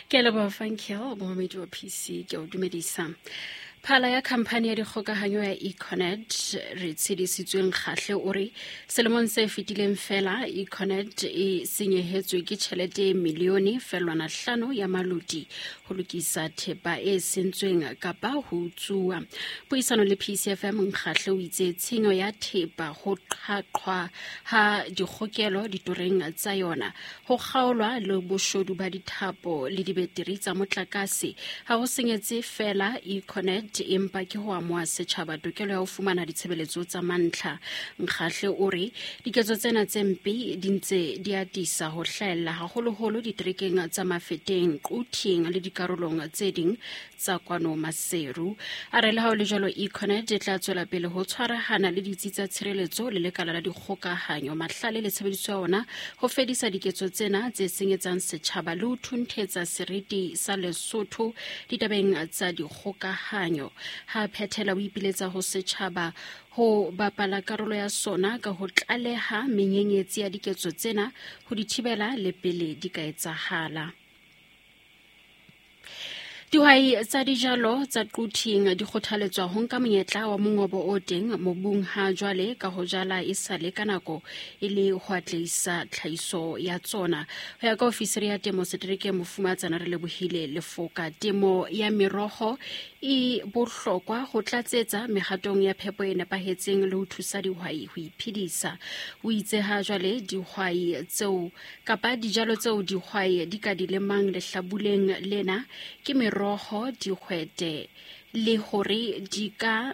Ke a leboha Funkel, momamedi wa PC, ke a o dumedisa. Phala ya khamphani ya dikgokahanyo ya Econet re tshedisitsweng kgahle o re selemong se fetileng fela Econet e senyehetswe ke tjhelete e milione felwana hlano ya maloti ho lokisa thepa e sentsweng kapa ho utsuwa. Puisano le PCFM Nkgahle o itse tshenyo ya thepa ho qhaqhwa ha dikgokelo ditoreng tsa yona Ho kgaolwa le boshodu ba dithapo le dibeteri tsa motlakase ha ho senyetse feela Econet empa ke ho amoha setjhaba tokelo ya ho fumana ditshebeletso tsa mantlha. Nkgahle o re diketso tsena tse mpe di ntse di atisa ho hlahella haholoholo diterekeng tsa Mafeteng, Quthing le dikarolong tse ding tsa kwano Maseru. A re le ha ho le jwalo Econet e tla tswela pele ho tshwarahana le ditsi tsa tshireletso le lekala la dikgokahanyo, mahlale le tshebediso ya ona ho fedisa diketso tsena tse senyetsang setjhaba le ho thunthetsa seriti sa Lesotho ditabeng tsa dikgokahanyo. Ha phethela o ipiletsa ho setjhaba ho bapala karolo ya sona ka ho tlaleha menyenyetsi ya diketso tsena ho di thibela le pele di ka etsahala. Dihwai tsa dijalo tsa Quthing di kgothaletswa ho nka monyetla wa mongobo o teng mobung ha jwale ka ho jala e sale ka nako e le ho atlehisa tlhahiso ya tsona. Ho ya ka ofisiri ya temo seterekeng Mofumatsana re lebohile Lefoka, temo ya meroho e bohlokwa ho tlatsetsa mehatong ya phepo e nepahetseng le ho thusa dihwai ho iphedisa. O itse ha jwale dihwai tseo kapa dijalo tseo dihwai di ka di lemang lehlabuleng lena ke meroho, dihwete le hore di ka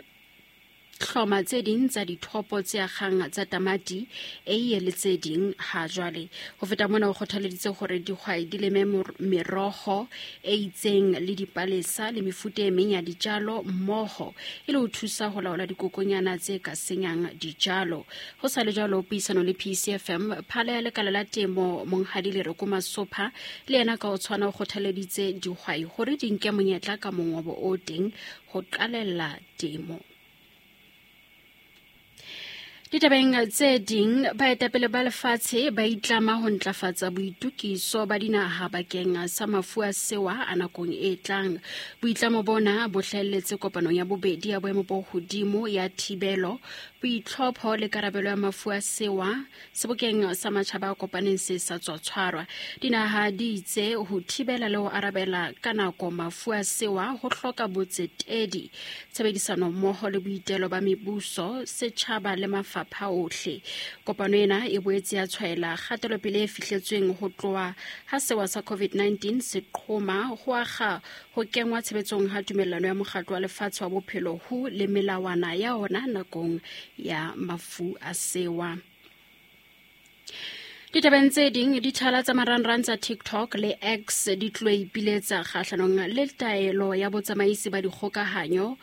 hloma tse ding tsa dithopo tse akgang tsa tamati, eiye le tse ding ha jwale. Ho feta mona o kgothaleditse hore dihwai di leme meroho e itseng le dipalesa le mefuta e meng ya dijalo mmoho e le ho thusa ho laola dikokonyana tse ka senyang dijalo. Ho sa le jwalo, puisano le PCFM, phala ya lekala la temo Monghadi Lereko Masopha le yena ka ho tshwana o kgothaleditse dihwai hore di nke monyetla ka mongobo o teng ho qalella temo. Ditabeng tse ding, baetapele ba lefatshe ba itlama ho ntlafatsa boitukiso ba dinaha bakeng sa mafu a sewa a nakong e tlang. Boitlamo bona bo hlahelletse kopanong ya bobedi ya boemo bo hodimo ya thibelo boitlhopho le karabelo ya mafu a sewa sebokeng sa matjhaba a kopaneng se sa tswa tshwarwa. Dinaha di itse ho thibela le ho arabela ka nako mafu a sewa ho hloka botsetedi, tshebedisano mmoho le boitelo ba mebuso, setjhaba le mafapha ohle. Kopano ena e boetse ya tshwaela kgatelopele e fihletsweng ho tloha ha sewa sa COVID-19 se qhoma ho akga ho kengwa tshebetsong ha tumellano ya mokgatlo wa lefatshe wa bophelo WHO le melawana ya ona nakong ya mafu a sewa. Ditabeng tse ding, dithala tsa marangrang tsa TikTok le X di tlo ipiletsa kgahlanong le taelo ya botsamaisi ba dikgokahanyo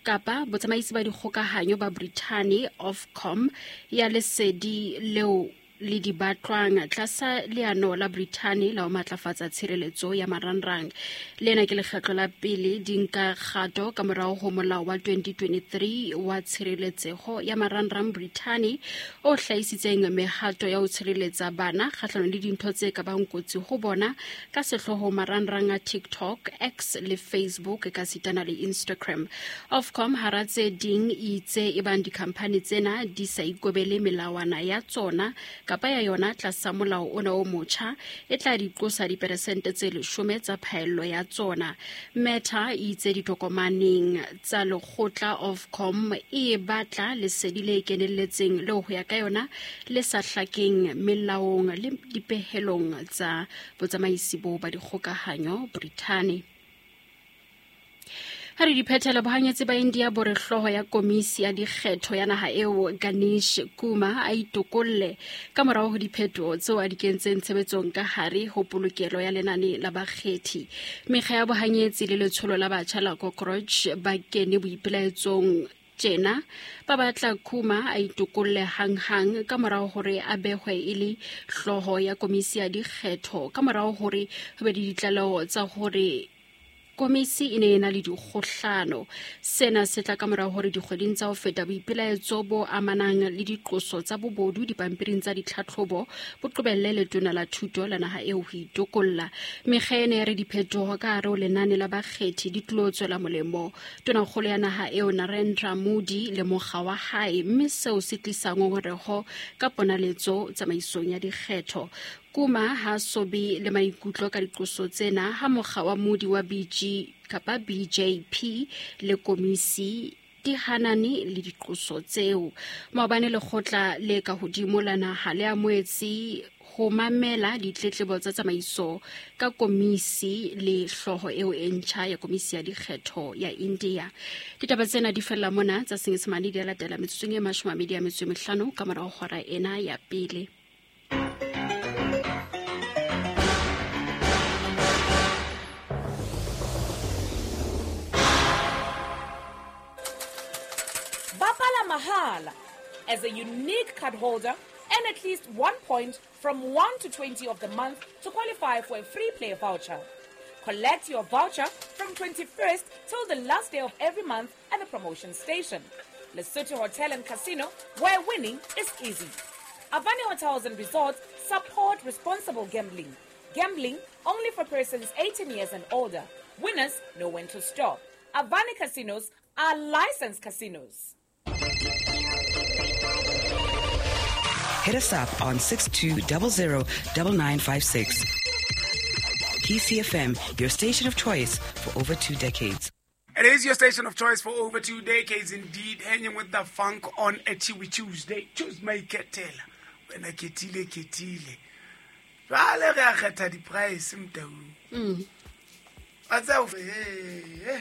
kapa botsamaisi ba dikgokahanyo ba Brithani Ofcom ya lesedi leo le di batlwang tlasa leano la Brithani la ho matlafatsa tshireletso ya marangrang. Lena ke lekgetlo la pele di nka kgato ka morao ho molao wa 2023 wa tshireletseho ya marangrang Brithani o hlahisitseng mehato ya ho tshireletsa bana kgahlanong le dintho tse ka bang kotsi ho bona ka sehlooho marangrang a TikTok, X le Facebook ka sitana le Instagram. Ofcom hara tse ding e itse ebang dikhamphani tsena di sa ikobele melawana ya tsona kapa ya yona tlasa molao ona o motjha e tla di qosa diperesente tse leshome tsa phaello ya tsona. Meta e itse ditokomaneng tsa lekgotla Ofcom e batla lesedi le kenelletseng leo ho ya ka yona le sa hlakeng melaong le dipehelong tsa botsamaisi bo ba dikgokahanyo Brithani. Ha re diphethela bohanyetsi ba India bo re hlooho ya komisi ya dikgetho ya naha eo Ganesh Kumar a itokolle ka morao ho diphetoho tseo a di kentseng tshebetsong ka hare ho polokelo ya lenane la bakgethi. Mekga ya bohanyetsi le letsholo la batjha la Cockroach ba kene boipelaetsong tjena ba batla Kuma a itokolle hanghang ka morao hore a behwe e le hlooho ya komisi ya dikgetho ka morao hore ho be le ditlaleho tsa hore Komisi e ne e na le dikgohlano. Sena se tla ka mora hore dikgweding tsa ho feta boipelaetso bo amanang le diqoso tsa bobodu dipampiring tsa ditlhatlhobo bo qobelle letona la thuto la naha eo ho itokolla. Mekga e ne e re diphetoho ka hare ho lenane la bakgethi di tlilo tswela molemo tonakgolo ya naha eo Narendra Modi le mokga wa hae, mme seo se tlisa ngongoreho ka ponaletso tsamaisong ya dikgetho. Kuma ha sobe le maikutlo ka diqoso tsena ha mokga wa Modi wa BG kapa BJP le komisi di hanane le diqoso tseo. Maobane lekgotla le ka hodimo la naha le amohetse ho mamela ditletlebo tsa tsamaiso ka komisi le hlooho eo e ntjha ya komisi ya dikgetho ya India. Ditaba tsena di fella mona tsa Senyesemane di a latela metsotsong e 25 ka morao hora ena ya pele. Bapala mahala. As a unique card holder, earn at least 1 point from 1 to 20 of the month to qualify for a free play voucher. Collect your voucher from 21st till the last day of every month at the promotion station. Lesotho Hotel and Casino, where winning is easy. Avani Hotels and Resorts support responsible gambling. Gambling only for persons 18 years and older. Winners know when to stop. Avani Casinos are licensed casinos. Hit us up on 6200 9956. PCFM, your station of choice for over 2 decades. It is your station of choice for over 2 decades, indeed. Hanging with the funk on a Chewy Tuesday. Choose my ketela. When I ketile, ketile. Jwale re a kgetha di-price, Mtaung. Wa tseba, eh.